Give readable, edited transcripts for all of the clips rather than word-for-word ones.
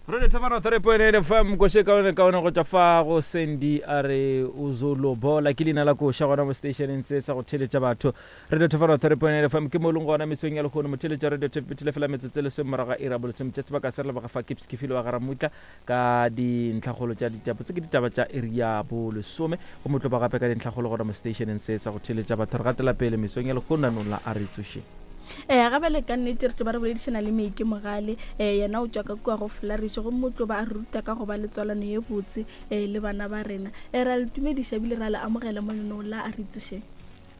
Radio Thabana 3.8 FM koše kaone kaone go tšwa fa go Sandy a re o zolobola ke leina la koša gona mo stationeng se sa go theletša batho. Radio Thabana 3.8 FM ke mo leng gona mesong ya lehono motheletša radio thepetile fela metsotso e lesome morago ga iri ya bolesome tše sebaka se re leboga fa Kips Kefile wa Garamutla ka dintlhakgolo tša ditaba tse ke ditaba tša iri ya bolesome go motlo ba gape ka dintlhakgolo gona mo stationeng se sa go theletša batho re gatela pele mesong ya lehono nanong la a re tsošeng. Ee, ga bjale ka nnete re tlo ba re boledišana le Meike Mogale. Um yena o tšwa ka kua go Flourish gomme o tlo ba a re ruta ka go ba le tswalano ye botse um le bana ba rena. Um ra le tumediša ebile ra le amogela mo lenong la A Re Tsošeng.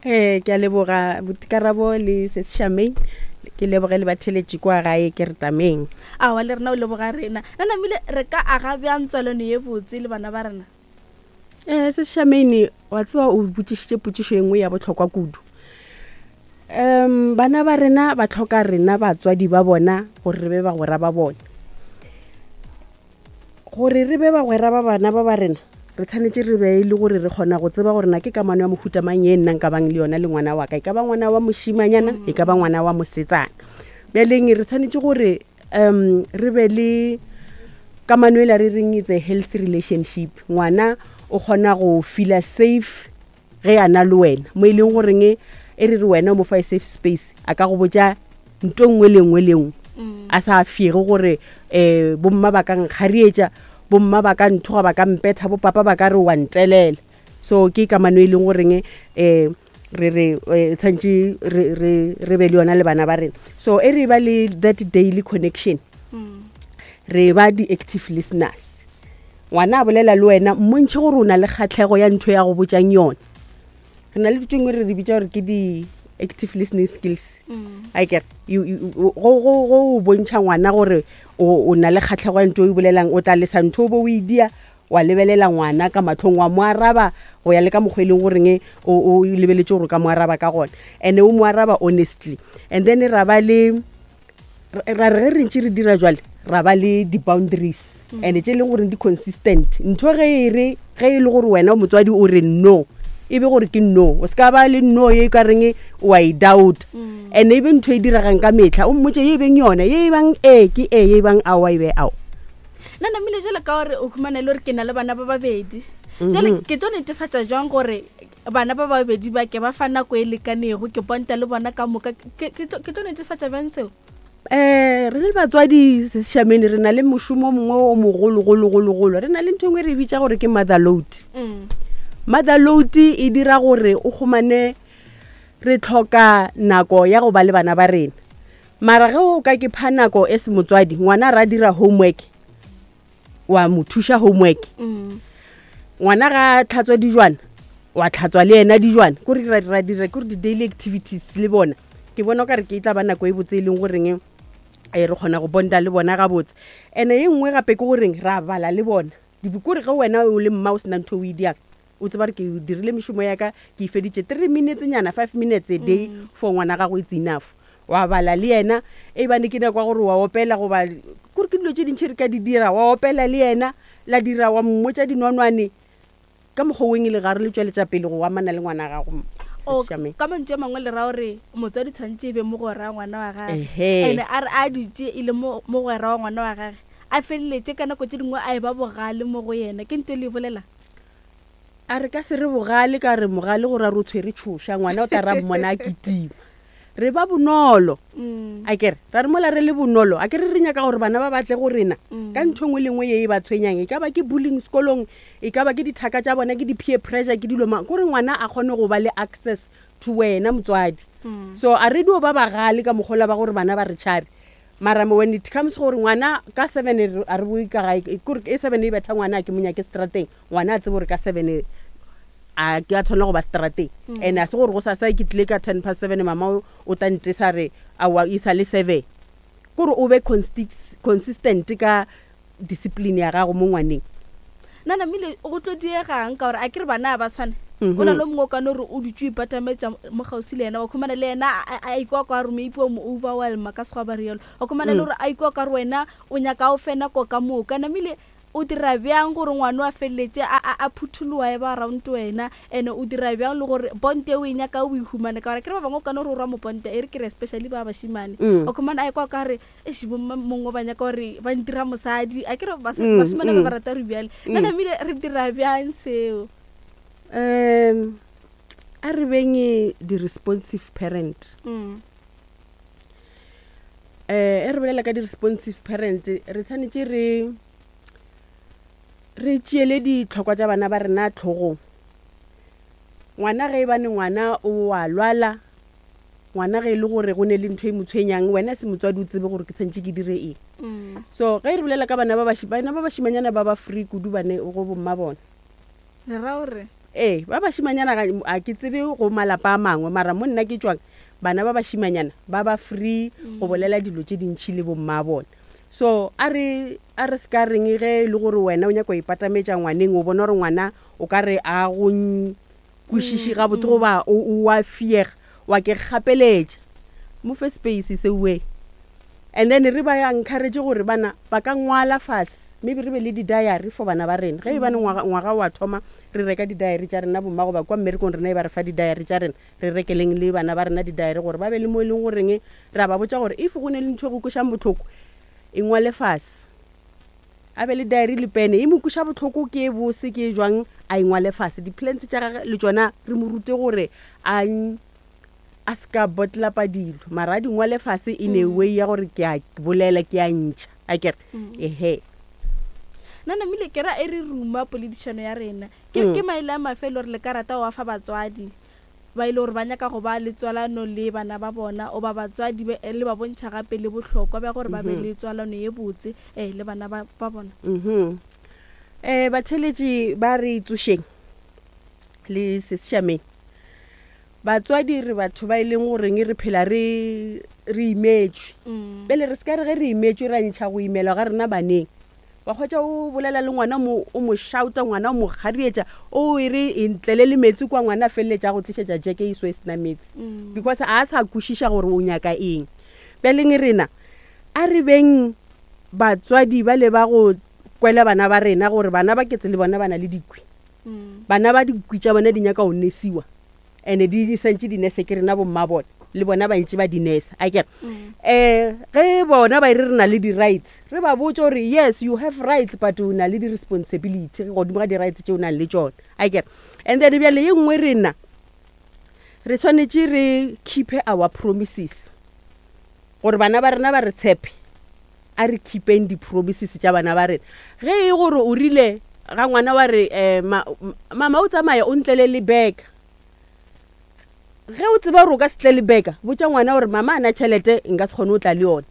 Ee, ke a leboga Botikarabo le Sesi Charmaine. Ke leboge le batheletši kwa gae ke re tameng. Aowa le rena o leboga rena. Na namile re ka aga bjang tswalano ye botse le bana ba rena? Um Sesi Charmaine, wa tseba o botšišitše potšišo e nngwe ya bohlokwa kudu. Um bana ba rena ba tlhoka rena batswadi ba bona gore re be bagwera ba bona. Gore re be bagwera ba bana ba ba rena, re tshwanetse re be e le gore re kgona go tseba gore na ke kamano ya mohuta mang ye nna nka bang le yona le ngwana wa ka, e ka ba ngwana wa mošimanyana, e ka ba ngwana wa mosetsana. Bjaleng re tshwanetse gore um re be le kamano e la re reng it's a healthy relationship. Ngwana o kgona go feela safe ge a na le wena mo e leng goreng e re re wena o mo fa e safe space a ka go botša nto nngwe le nngwe le nngwe mm. a sa fiege gore um bomma ba ka nkgarietša bomma ba ka nthoga ba ka mpetha bopapa ba ka re wa ntelela so ke kamano e leng goreng um re re eh, tshwanetse re be le yona le bana ba rena so e re ba le that daily connection mm. re ba di-active listeners Ngwana a bolela le wena, mmontšhe gore o na le kgatlhego ya ntho ya go botšang yona. Re na le dilo tše dingwe re di bitša gore ke di-active listening skills. Mm. A kere go go bontšha ngwana gore o na le kgatlhego ya ntho e bolelang, o tla lesa ntho o bo o e dia wa lebelela ngwana ka mahlong wa mo araba go ya le ka mokgwa e leng goreng o lebeletše gore o ka mo araba ka gona and o mo araba honestly and then ra ba le ra re ge re ntše re dira jwale ra ba le di-boundaries mm. and tše e leng gore di-consistent ntho ge e re ge e le gore wena motswadi o re no e be gore ke no o se ka ba le no ye e ka reng o a e doubt mm. and e be ntho e diregang ka metlha o mmotse ye e beng yone ye e bang ee ke ee ye e bang aowa e be ao nna namile jale ka gore o humana e le gore ke na le bana ba babedi jale mhm. ke tlo netefatša jwang gore Bana ba babedi ba ke ba fa nako e lekanego, ke ponta le bona ka moka. Ke, ke, tlo, ke tlo netefatša bjang seo? Um re le batswadi sešamene re na le mošomo o mongwe o mogologologologolo re na le ntho e nngwe re e bitša gore ke mother load mm. mother load e dira gore o kgomane re tlhoka nako ya go ba le bana ba rena mara ge o ka ke pha nako e se motswadi ngwana ra dira homework wa mo thuša homework mm. ngwana ga tlhatswa dijwana wa tlhatswa le yena dijwana kore ra ra dira kore di-daily activities le bona ke bona o ka re ke e tla ba nako e botse e leng goreng e re kgona go bonda le bona gabotse ene e nngwe gape ke goreng ra bala le bona dibukore ge wena o le mma o sena ntho o e diang o tseba gore ke dirile mešomo ya ka ke e feditše three minutes nyana five minutes a day mm. for ngwana gago it's enough wa bala le yena e bane ke nako ya gore wa opela goba kore ke dilo tše dintšhi re ka di dira wa opela le yena la dira wa mmotša dinonwane ka mokgwa weng e le gare le tšweletša pele go amana le ngwana gago ka mantšu a mangwe le ra gore motswadi tshwanetse e be mogwera wa ngwana wa gage ene a re a dutse e le mogwera wa ngwana wa gage a feleletše ka nako tše dingwe a e ba bogale mo go yena ke nto e le e bolela A re ka se re bogale ka re mogale gore a re o tshwere tšhoša ngwana o tla ra mmona a kitima re ba bonolo mm. a kere ra re mola re le bonolo a kere re nyaka gore bana ba batle go rena mm. ka ntho engwe le nngwe ye e ba tshwenyang e ka ba ke bullying sekolong e ka ba ke dithaka tša bona ke di-peer pressure ke dilo mang kore ngwana a kgone go ba le access to wena motswadi mm. so a re dio ba bagale ka mokgola ba gore bana ba re tšhabe mara when it comes gore ngwana ka seven a re boe ka gae kore e seven e betha ngwana a ke mo nyake strateng ngwana a tsebe gore ka seven a ke a tshwanela go ba strateng mm. and a se gore go sasa ke tlile ka ten past seven mama o tla ntesa re awa e sa le seven kore o be consistent ka discipline ya gago mo ngwaneng nna namile go tlo diegang ka gore a ke re bana ba tshwane mhm. o na le mongwe o kane gore o dutse o ipatametsa mo gausi le yena wa khumana le yena a ikwa ka gore maybe o mo overwhelma ka sekgwa ba rialo wa khumana le mm. gore a ikwa ka gore wena o nyaka o fe nako ka moka namile. O dira bjang gore ngwano a feleletše a, a, a phuthologa e ba around wena? And o dira bjang le gore bonte o e nyaka o e humane? Ka gore akere ba bangwe o ka no re o rwa moponte, e re ke re especially ba bašemane. O khumana a ekwa o ka re, eish, bomma mongwe ba nyaka gore ba ntira mosadi. Akere bašemane ba ba rata gore bjale. Nna namile re dira bjang seo? A re beng di-responsive parent. E re bolela ka di-responsive parent, re tshwanetse re re tšeele ditlhokwa tša bana ba rena tlhogong. Ngwana ge e bane ngwana o a lwala, ngwana ge e le gore go ne le ntho e mo tshwenyang, wena se motswadi o tsebe gore ke tshwanetse ke dire eng. So ge re bolela ka bana ba bana ba bašimanyana ba ba free kudu bane go bomma bona. Re ra gore? Ee, ba bašimanyana ga, a ke tsebe go malapa a mangwe, mara mo nna ke tšwang, bana ba bašimanyana ba ba free go bolela dilo tše dintši le bomma bona. So a re, a re se ka reng ge e le gore wena o nyaka go ipatametša ngwaneng, o bona gore ngwana o ka re a go kwešiše gabotse goba o, o a fiega, wa ke gapeletša. Mo fe space se way. And then re ba encourage gore bana ba ka ngwala fase, maybe re be le di-diary for bana ba rena. Ge e bane ngwaga, ngwaga wa thoma, re reka di-diary tša rena bomma goba kwa mmerekong rena e ba re fa di-diary tša rena, re rekeleng le bana ba rena di-diary gore ba be le mo e leng goreng re a ba botša gore if go ne le ntho e go kwešang bohloko, e ngwale fase. A be le diary le pene, e mo kweša bohloko ke e bose ke e jwang, a e ngwale fase. Di-plans tša gage le tšona re mo rute gore a a se ka bottlapa dilo, mara a di ngwale fase in a way ya gore ke a bolela, ke a ntšha, a kere ehe. Nna namile ke ra e re ruma poledišano ya rena. Ke, ke maele a mafe e le gore le ka rata go a fa batswadi ba e le gore ba nyaka go ba le tswalano le bana ba bona, goba batswadi ba, le ba bontšha gape le bohlokwa bja gore ba be le tswalano ye botse le bana ba, ba bona? Batheeletši ba re tsošeng le sešameng. Batswadi re batho ba e leng goreng re phela re re imetšwe. Bjale re se ka re ge re imetšwe ra ntšha go imelwa ga rena baneng. Wa hwetša o bolela le ngwana mo o mo shouta, ngwana o mo kgarietša, o e re e ntlele le metsi kwa, ngwana a feleletša a go tlišetša jeke e so e sena metsi. Because a sa kwešiša gore o nyaka eng. Bjaleng rena a re beng batswadi bale ba go kwela bana ba rena gore bana ba ketse le bona ba na le dikwi. Bana ba dikwi tša bona di nyaka go nesiwa, and-e di santše di nese ke rena bomma bona, le bona ba ntše ba di nesa, akere. Ge bona ba e re re na le di-rights, re ba botše gore yes you have rights but o na le di-responsibility godimo ga di-rights tše o nang le tšona, akere. And then bjale ye nngwe rena re swanetše re keep-e our promises gore bana ba rena ba re tshepe. A re keepeng di-promises tša bana ba rena. Ge e gore o rile ga ngwana wa re, ma, mama o tsamaya o ntlele le beka. Ge o tseba gore o ka se tle le beka, botša ngwana gore mama a na tšhelete nka se kgone go tla le yona.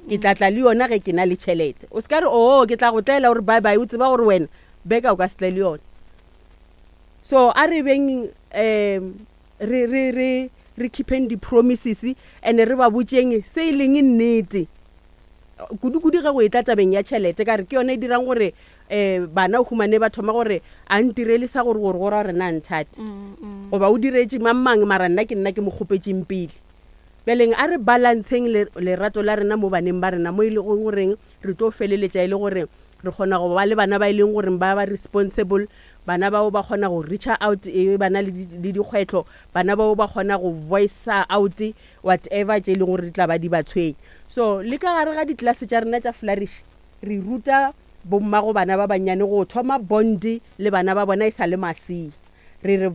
Ke tla tla le yona ge ke na le tšhelete. O se ka re, oo, ke tla go tlela gore bye bye, o tseba gore wena beka o ka se tle le yona. So a re beng re, re, re, re keepeng di-promises and re ba botšeng se e leng nnete. Kudu-kudu ge go etla tabeng ya tšhelete, ka re ke yona e dirang gore um bana o humane ba thoma gore a ntirele sa gore gore go ra gore na nthate, goba o diretše mang mang mara nna ke nna ke mo kgopetšeng pele. Bjaleng a re balanceng lerato la rena mo baneng ba rena, mo e lego goreng re tlo feleletša e le gore re kgona go ba le bana ba e leng gore ba ba responsible, bana bao ba kgona go reacha out e ba na le dikgwetlho, bana bao ba kgona go voice-a out whatever tše e leng gore di tla ba di ba tshwenya. So le ka gare ga ditlelase tša rena tša Flourish re ruta bommago bana ba bannyane go thoma bond le bana ba bona e sa le masea. Re re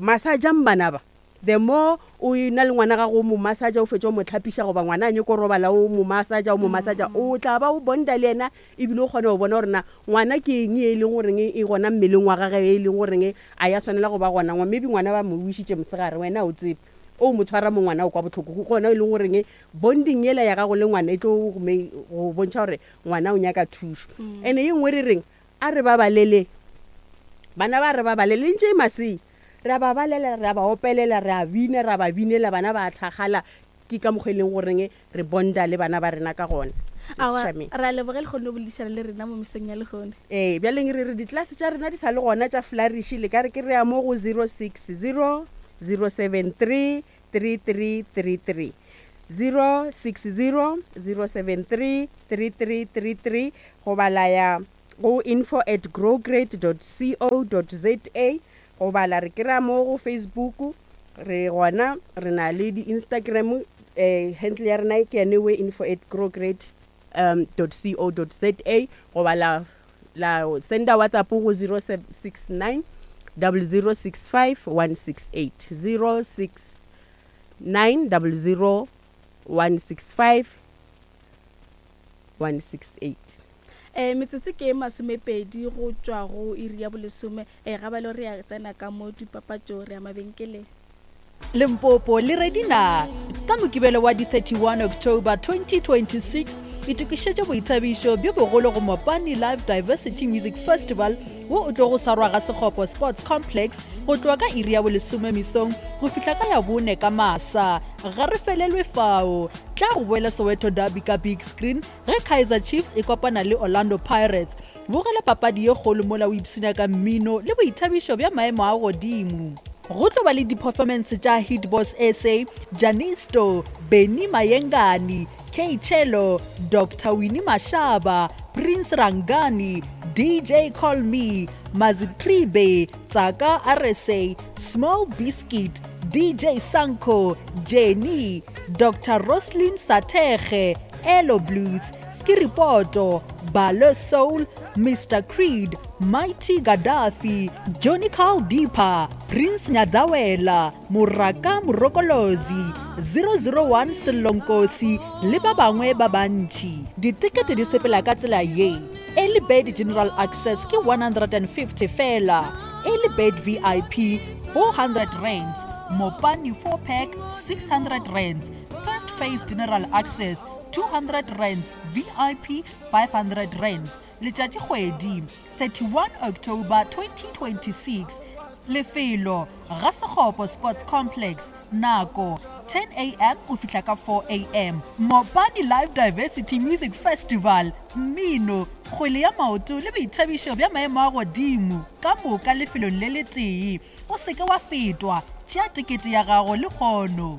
massageng bana ba, the more o e na le ngwana gago o mo massaga o fetša o mo hlapiša goba ngwana a nyako robala o mo massaga o mo massaga, o tla ba o bonda le yena ebile o kgona go bona gore na ngwana ke eng e leng goreng e gona mmeleng wa gage e leng goreng a ya swanela go ba gona. Maybe ngwana ba mo wišitše mosegare wena o tsebe. O mo tshwara mo ngwana o kwa bohloko, ke gona e leng goreng bonding yela ya gago le ngwana e tlo go bontšha gore ngwana o nyaka thušo. And-e ye nngwe re reng, a re ba balele, bana ba re ba balele ntše e masea, re a ba balela, re a ba opelela, re a bina, re a ba binela, bana ba a thakgala. Ke ka mokgwa e leng goreng re bonda le bana ba rena ka gona. Aowa, re a leboga le kgonne go boledišana le rena mo mesong ya lehono. Ee, bjaleng re re ditlelase tša rena di sa le gona tša Flourish, le ka re ke re ya mo go 060 073 3333. 060 073 3333 goba la ya. go info at growgrade dot co dot za goba la re kry-a mo go Facebook. Re gona re na le di-Instagram, um handle ya rena ke yane we info at growgrade um dot co dot za goba la la senda WhatsApp go 069 0065 168, 069 00 165 168. Um metsotso ke e masomepedi go tšwa go iri ya bolesome. Um ga balo re ya tsena ka mo dipapatšo, re ya mabenkeleng. Limpopo le ready na? Ka Mokibelo wa di 31 October 2026, itokišetše boithabišo bjo bogolo go Mopani Live Diversity Music Festival wo o tlogo swarwa ga Sekgopo Sports Complex go tloga ka iri ya bolesome mesong go fihla ka ya bone ka masa. Ga re felelwe fao, tla go boela Soweto Derby ka big screen ge Kaizer Chiefs e kopana le Orlando Pirates. Bogela papadi ye kgolo mola o ipshina ka mmino le boithabišo bja maemo a godimo. Go tlo ba le di-performance tša Hit Boss SA, Janisto, Benny Mayengani, K-Cello, Doctor Winnie Mashaba, Prince Rangani, DJ Call Me, Mazitribe, Tsaka RSA, Small Biscuit, DJ Sanko, Jenny, Doctor Roslyn Sathekge, Elo Blues, Skiripoto, Balo Soul, Mister Creed, Mighty Gaddafi, Johnny Carl Deeper, Prince Nyadzawela, Moraka Morokolozi, 001 Sello Nkosi le ba bangwe ba bantši. Ditekete di sepela ka tsela ye, Early Bird General Access ke 150 fela, Early Bird VIP 400 rands, Mopani 4 Pack 600 rands, First Phase General Access 200 rands, VIP 500 rands. Letšatšikgwedi, 31 October 2026. Lefelo, Ga-Sekgopo Sports Complex. Nako, 10 am go fihla ka 4 am. Mopani Live Diversity Music Festival, mmino, kgwele ya maoto le boithabišo bja maemo a godimo, ka moka lefelong le letee. O se ke wa fetwa, tšea tekete ya gago lehono.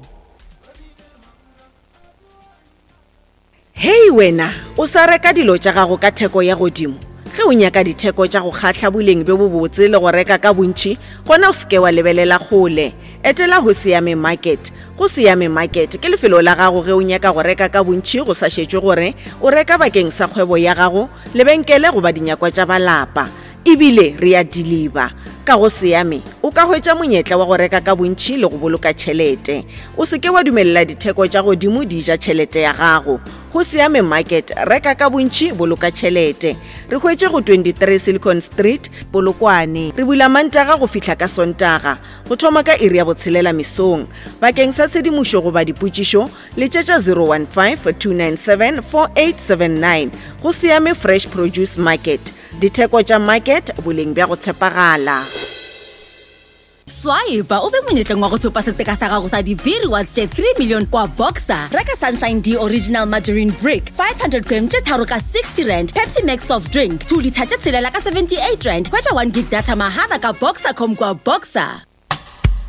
Hei wena, o sa reka dilo tša gago ka theko ya godimo? Ge o nyaka ditheko tša go kgahla, boleng bjo bobotse le go reka ka bontši, gona o se ke wa lebelela kgole. Etela Hosiame Market. Hosiame Market ke lefelo la gago ge o nyaka go reka ka bontši go sa šetšwe gore o reka bakeng sa kgwebo ya gago, lebenkele goba dinyakwa tša ba lapa. E bile re a diliba. Ka go Siame, o ka hwetša monyetla wa go reka ka bontši le go boloka tšhelete. O se ke wa dumelela ditheko tša godimo di ja tšhelete ya gago. Go Siame Market, reka ka bontši, boloka tšhelete. Re hwetše go 23 Silicon Street, Polokwane. Re bula Mantaga go fihla ka Sontaga, go thoma ka iri ya botshelela mesong. Bakeng sa tshedimošo goba dipotšišo, letšetša 015 297 4879. Go Siame Fresh Produce Market. Ditheko tša market, boleng bja go tshepagala. Swipa o be monyetleng wa go thopa setseka sa gago sa di-B-rewards tše 3 million kwa Boxer. Reka Sunshine D Original Margarine Brick 500 gram tše tharo ka 60 rand, Pepsi Max soft drink 2 litha tše tshelela ka 78 rand. Hwetša 1 gig data mahala ka Boxercom kwa Boxer.